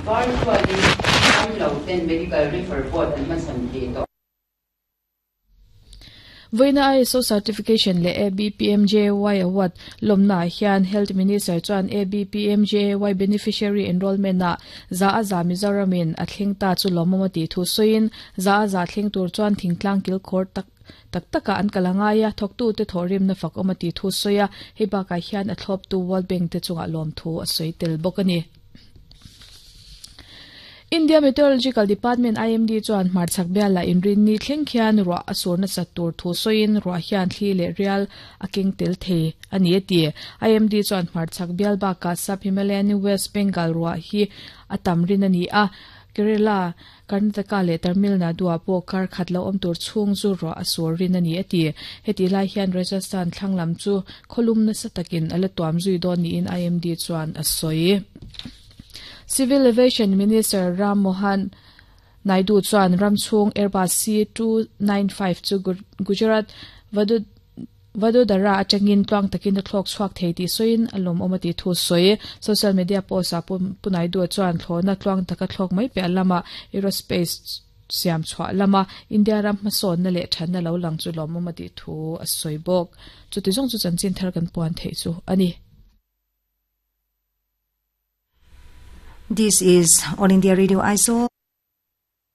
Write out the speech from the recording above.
Virtual-in damloten medical refer board an hmachhawn thei tawh. Vawiina ISO Certification leh ABPMJAY Award lawmnaah hian Health Minister chuan ABPMJAY Beneficiary Enrolment-ah za a za Mizoramin a thleng ta chu lawmawm a tih thu sawiin za a za thleng tur chuan thingtlang kilkhawr tak tak takah an kal a ngai a, thawktute thawhrimna fak awm a tih thu sawi a, hei bakah hian a thlawptu World Bank te chungah lawmthu a sawi tel bawk a ni. India Meteorological Department, IMD, chuan hmarchhak bialah inrinni thleng khian ruah a sur nasat tur thu sawiin ruah hian thli leh rial a keng tel thei a ni a ti. IMD chuan hmarchhak bial bakah Sub-Himalayan West Bengal ruah hi a tam rin a ni a, Kerala, Karnataka leh Tamil Nadu-ah pawh kar khat lo awm tur chhung chu ruah a sur rin a ni a ti. Hetih lai hian Rajasthan thlang lam chu khawlum nasa takin a la tuam zui dawn niin IMD chuan a sawi. Civil Aviation Minister Ram Mohan Naidu chuan ram chhung Airbus C-295 chu Gujarat Vadodara atangin tluang takin a thlawk chhuak thei tih sawiin a lawmawm a tih thu sawi. Social media post-ah Pu Naidu chuan thlawhna tluang taka thlawk mai piah lama aerospace siam chhuah lama India ram hmasawnna leh thatna lo lang chu lawmawm a tih thu a sawi bawk. Chuti zawng chu chanchin thar kan puan theih chu a ni. This is All India Radio Aizawl.